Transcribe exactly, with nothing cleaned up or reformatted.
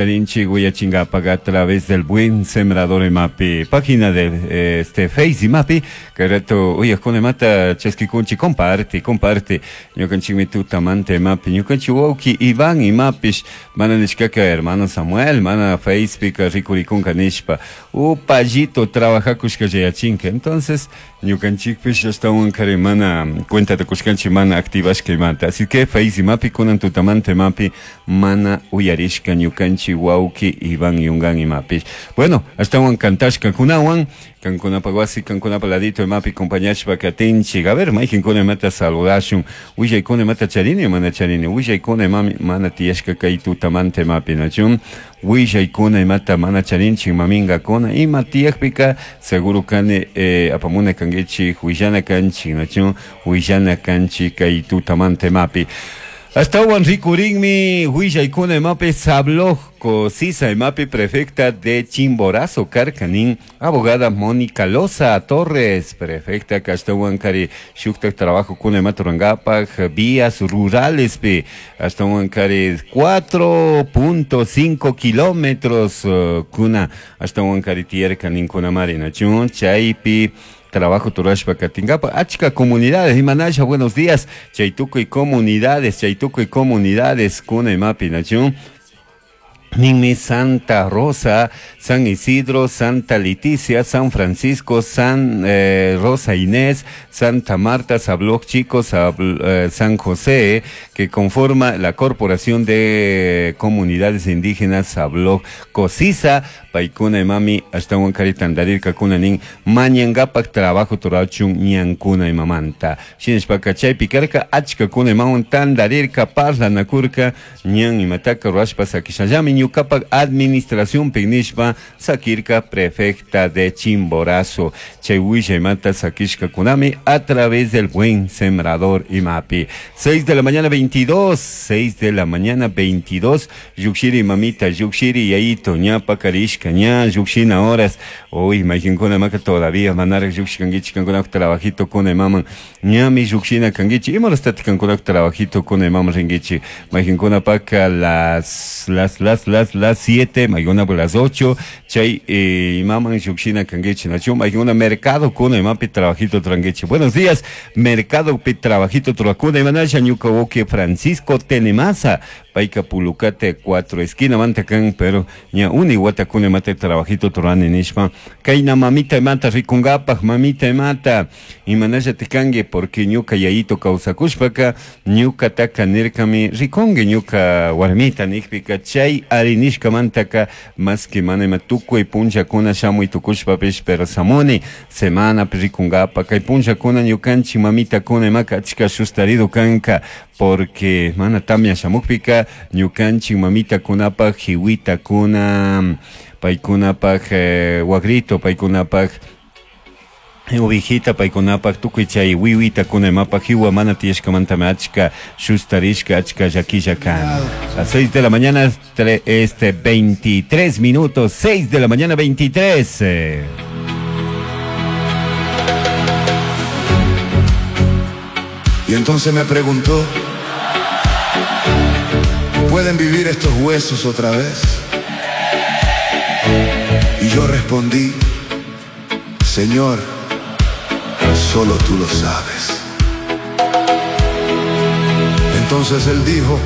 charinchik uyachinkapak a través del Buen Sembrador imapi página de este Face imapi kay rato uyakuna imata chaskikunchik comparte comparte ñukanchikmi tutamanta imapi ñukanchik wawki Iván imapish mana nishkaka hermano Samuel mana Facebook rikurikunka nishpa upallito trabajakushka yachinka. Entonces ñukanchikpish ashtawan kari mana cuenta kushkanchik mana activashka imata, así que Face imapi kunan tutamanta imapi mana uyarishka ñukanchik wawki Iván Yungan imapish. Bueno, ashtawan kantashka kunawan kankunapa wasi kankunapa ladito imapi compañashpa katinchik. A ver, mayqinkuna imata saludashun, willaykuna imata charini mana charini, willaykuna imami mana tiyashka kay tutamanta imapi nachun, willaykuna imata mana charinchik maminkakuna ima tiyakpika seguro kani eh, apamuna kankichik willana kanchik nachun, willana kanchik kay tutamanta imapi. Ashtawan rikurinmi willaykuna imapi Sabloco Sisa imapi prefecta de Chimborazo karkanin abogada Mónica Loza Torres prefecta ashtawan kari shuktak trabajo kuna imata rurankapak vías rurales pi ashtawan kari cuatro punto cinco kilómetros uh, kuna ashtawan kari tiyarka ninkunamari nachun chaypi trabajo turashpa katingapa achka comunidades imanasha buenos días chaytukuy comunidades chaytukuy comunidades kuna imapi nachun ninmi Santa Rosa, San Isidro, Santa Leticia, San Francisco, San eh, Rosa Inés, Santa Marta, Sabloc Chico, Sabl, eh, San José, que conforma la Corporación de Comunidades Indígenas Sabloc Cosisa, paykuna imami ashtawan kari tandarirka kunanin mañangapak trabajo turachun ñankuna imamanta. Shinashpaka chaypi karka achka kuna imawan tandarirka parlanakurka ñan imataka rurashpa sakishallami ñukapak administración nishpa sakirka prefecta de Chimborazo. Chay willaymanta sakishka kunami a través del Buen Sembrador imapi. seis de la mañana veintidós, seis de la mañana veintidós, yukshiri mamita, yukshiri yayito, ñapa karishka, ña yukshina horas. Uy, mayqinkuna maka todavía manaraq yukshikankichik kankunapak trabajito kuna imaman, ñami yukshina kankichik, imarastataq kankunapak trabajito kuna imaman rinkichik, mayqinkunapaka las, las, las, las, las siete, mayqinkunapa las ocho, chay eh, imaman yukshina kankichik, nachu, mayqinkuna mercado kuna imapi trabajito tranquichik. Buenos días, mercado pi trabajito truakuna imanasha ñuka wawqi Francisco Tenemaza, payka Pulucate cuatro esquina mantakan, pero ña uni watakuna imata trabajito turani nishpa, kayna mamita imata rikungapak, mamita imata imanasha tikanki porque ñuka yayito kawsakushpaka ñukataka nirkami rikunki ñuka warmita nikpika chay arinishkamantaka más que mana ima tukuy punllakuna shamuy tukushpapish pero samuni semanapi rikungapak, kay punllakuna ñukanchik mamitakuna imaka achka sustarido kanka porque mana tamya shamukpika ñukanchik mamitakunapak hiwitakuna paykunapak eh, wagrito paykunapak ovejita paykunapak tukuy chay wiwitakuna imapak hiwa mana tiyashkamantami achka sustarishka achka llakilla kan. A seis de la mañana tre, este veintitrés minutos, seis de la mañana veintitrés. Eh. Y entonces me preguntó, ¿pueden vivir estos huesos otra vez? Y yo respondí, Señor, solo tú lo sabes. Entonces él dijo,